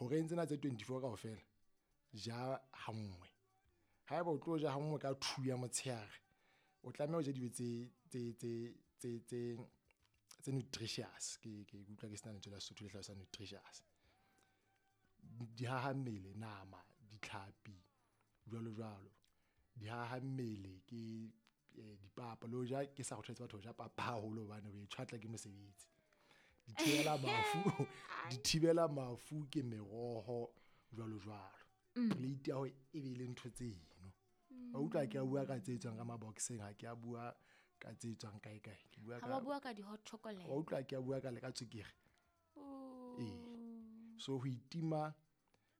Horeng tsena tse 24 kaofela ja hanngwe. Haeba o tlo ja hanngwe ka 2 ya motshehare, o tlameha o je dijo tse nutritious. Ke utlwa ke sena lentswe la Sesotho le hlalosang nutritious. Dihaha mmele, nama, ditlhapi, jwalo jwalo. Dihaha mmele ke dipapa. Le hoja ke sa kgothaletse batho ho ja papa haholo hobane o e tjhwatla ke mosebetsi. Dithibela mafu, dithibela mafu ke meroho jwalo jwalo. Plate ya hao e be le ntho tseno. Wa utlwa ke a bua ka tse tswang ka maboxeng, ha ke a bua ka tse tswang kae kae. Ke bua Ha ka wa bua ka di-hot chocolate. Wa utlwa ke a bua ka le ka tswekere. Ee. So ho itima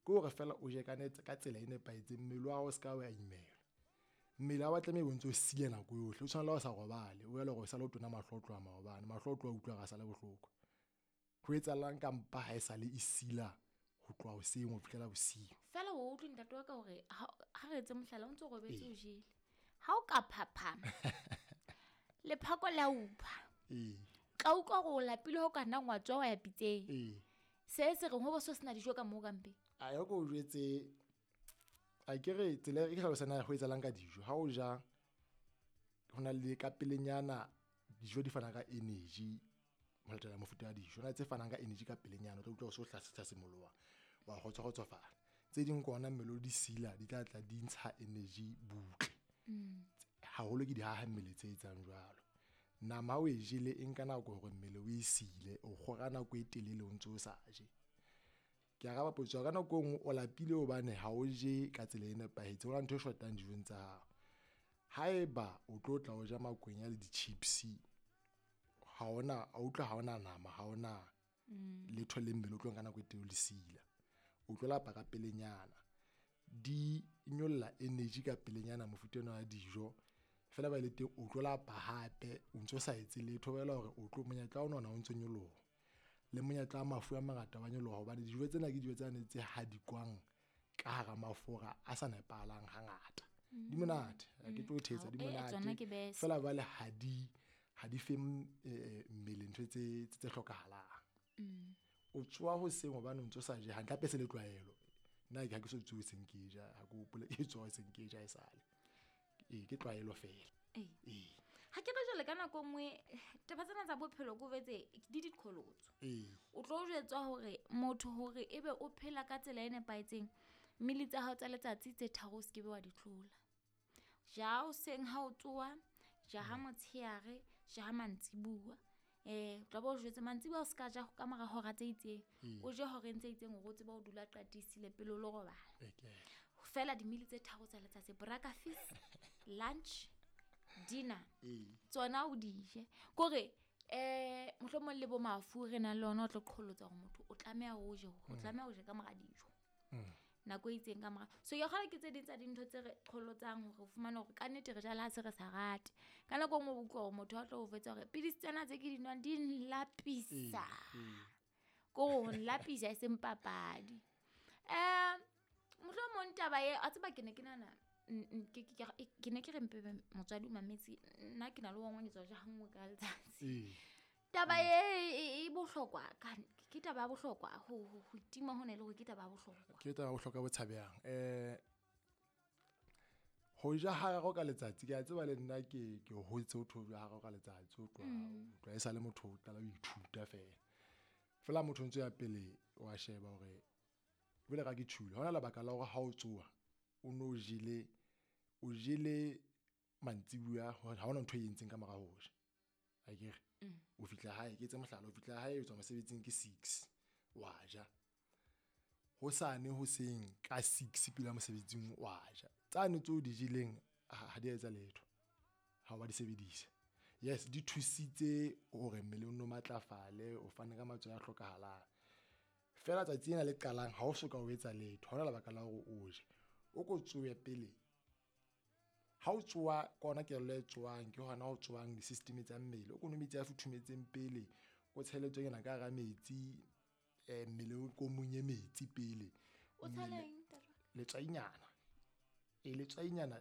ke hore fela o je ka tsela e nepahetseng, mmele wa hao o ska wa imelwa. Mmele ha wa tlameha o ntso o sile nako yohle, o tshwana le ha o sa robale, o ela hore o sale o tona mahlo o tloha maobane, mahlo o tloha utlwa hore a sale bohloko. Ho etsahalang ka mpa ha e sale e sila ho tloha hoseng ho fihlela bosiu. Fela o utlwe ntate wa ka hore ha re etse mohlala o ntso robetse o jele. Ha o ka phaphama, lephako le a upha. Tla utlwa hore o lapile ho ka nna wa tswa wa ya pitseng. Se se reng ho bo so sena dijo ka moo ka mpeng. A ya ko jwetse, a ke re tsela e ke hlalosang ho etsahalang ka dijo. Ha o ja ho na le ka pelenyana dijo di fana ka energy ho latela mofuta wa dijo. Ho na le tse fanang ka energy ka pelenyana, o tla utlwa o so hlasimoloha, wa kgotsofala. Tse ding ke ona mmele o di sila, di tla tla di ntsha energy butle. Haholo ke dihaha mmele tse etsang jwalo. Nama ha o e jele e nka nako hore mmele o e sile, o kgora nako e telele o ntso o sa je. Ke araba potso ka nako e nngwe o lapile hobane ha o je ka tsela e nepahetseng, ho na le ntho e shotang dijong tsa hao. Haeba o tlo tla o ja makwenya le di-chips, ha ona, o utlwa ha ona nama, ha ona letho le mmele o tlo nka nako e telele o le sila. O tlo lapa ka pelenyana. Di nyolla energy ka pelenyana mofuta ona wa dijo. Fela ba le teng o tlo lapa hape o ntso sa etse letho, bolela hore o tlo monyetla wa ona o ntso nyoloha. Le monyetla wa mafu a mangata wa nyoloha hobane dijo tsena ke dijo tsane tse hadikwang ka hara mafura a sa nepahalang hangata. Di monate, ha ke tlo thetsa, di monate. Tsona ke best. Fela jwale ha di fe mmele ntho tse hlokahalang. O tsoha hoseng hobane o ntso sa je hantle, hape se le tlwaelo. Nna ha ke so tsohe hoseng ke ja, ha ke hopole ke tsoha hoseng ke ja esale. Ee, ke tlwaelo fela. Ee. Ha ke re jwale ka nako e nngwe, taba tsena tsa bophelo ke o jwetse di diqholotso. O tlo jwetswa hore motho hore ebe o phela ka tsela e nepahetseng, mmele tsa hao tsa letsatsi tse tharo o se ke be wa di tlola. Ja hoseng ha o tsoha, ja ha motshehare, ja ha mantsibuya. Tla bo jwetse mantsibuya o se ka ja ka mora hora tse itseng. O je horeng tse itseng hore o tsebe ho dula qatisile pele o lo robala. Fela dimili tse tharo tsa letsatsi, breakfast, lunch, dinner. Tsona o di je. Kore, mohlomong le bo mafu re nang le ona o tlo qholotsa hore motho o tlameha o je, o tlameha o je ka mora dijo. Nako e itseng ka mora. So ke kgolwa ke tse ding tsa dintho tse re qholotsang hore o fumane hore ka nnete re jala ha se re sa rate. Ka nako e nngwe o utlwa hore motho a tlo o jwetsa hore pidisi tsena tse ke di nwang di nlapisa. Ke hore ho nlapisa e seng papadi. Mohlomong taba e, a tseba ke ne ke nahana, ke ne ke re mpe motswadi o mametse, nna ke na le wa ngwanetsa ja hanngwe ka letsatsi. Taba e bohlokwa, ke taba ya bohlokwa, ho itima hona e le hore ke taba ya bohlokwa. Ke taba ya bohlokwa bo tshabehang. Ho ja hararo ka letsatsi, ke a tseba le nna ke hotse ho tho ja hararo ka letsatsi, o tloha, o tloha e sale motho o qala ho ithuta fela. Fela motho o ntso ya pele wa sheba hore jwale ka ke tjhule, ha hona lebaka la hore ha o tsoha o no jele, o jele mantsibuya, ha hona ntho e entseng ka mora ho ja. Akere? O fihla hae, ke etse mohlala, o fihla hae o tswa mosebetsing ke 6, wa ja. Hosane hoseng ka 6 pele mosebetsing wa ja. Tsane tseo di jeleng ha di a etsa letho. Ha wa di sebedisa. Yes, di thusitse hore mmele o no matlafale, o fane ka matswai a hlokahalang. Fela tsatsi lena le qalang ha o soka o etsa letho, ha hona lebaka la hore o je. O ko tsohe pele. Ha o tsoha, ke hona kelello e tsohang, ke hona ho tsohang di-system tsa mmele. O ko nwe metsi a futhumetseng pele, o tshele tswekere ka hara metsi, mmele o ko monye metsi pele. O tshela eng, Ntate? Letswainyana. Letswainyana,